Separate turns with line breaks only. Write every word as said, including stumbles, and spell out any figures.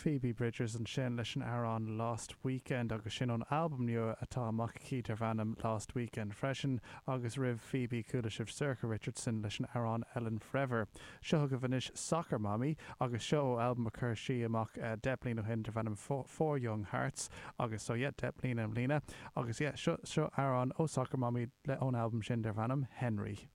Phoebe Bridgers ansin leis an amhrán Lost Weekend agus sin ón albam nua atá amach aici darb ainm Lost Weekend freisin agus roimh Phoebe chuala sibh Sorcha Richardson leis an amhrán Ellen Forever. Seo chugaibh anois Soccer Mommy agus seo ó albam a chuir sí amach uh, deich mbliana ó shin darb ainm Four Young Hearts agus so yeah, deich mbliana i mbliana agus yeah, seo seo amhrán ó Soccer Mommy le ón albam sin darb ainm Henry.